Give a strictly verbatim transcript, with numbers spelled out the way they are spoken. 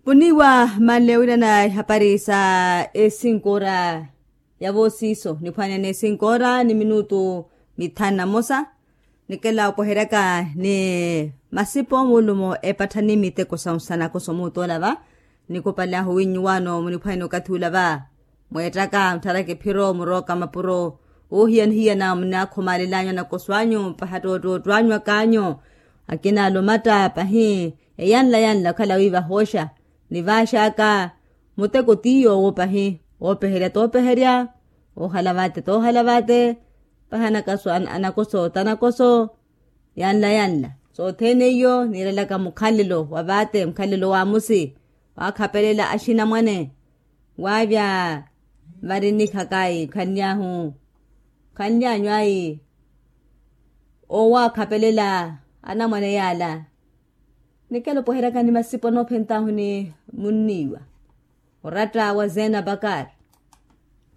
Vuniiwa manle wiirana ihapari sa esinkora ya voosiiso niphwanene esinkora ni minutu mithanu na mosa. Nikela opweheryaka ni masipo muulumo epatthani miteko sa nsanakoso muutoola va. Nikupale ahu winnyu waano muniphwanene okathi ula va. Mweettaka muttharaka ephiro murooka mapuro. Oohiyanihiyana munaakhumaalelanyu anakoso anyu mpaha ttoottootto anyu akaanyu. Akina alumatta pahi eyanla yanla okhala wiiva hooxa. Nivaaxaka muteko tiyo owo pahi. Oopeherya toopeherya oohala vaate toohala vaate. Pahi anakaso anakoso tanakoso. Yanla yanla sothene iyo niirelaka mukhalelo wa vaate mukhalelo wa musi. Waakhapelela axinamwane waavya vari nnikhaka ayi khanly'ahu khanly'anyu ayi. Owaakhapelela anamwane yaala. Nikela opweheryaka ni masipo noophent'ahu ni munniiwa oratta wa zena bakar.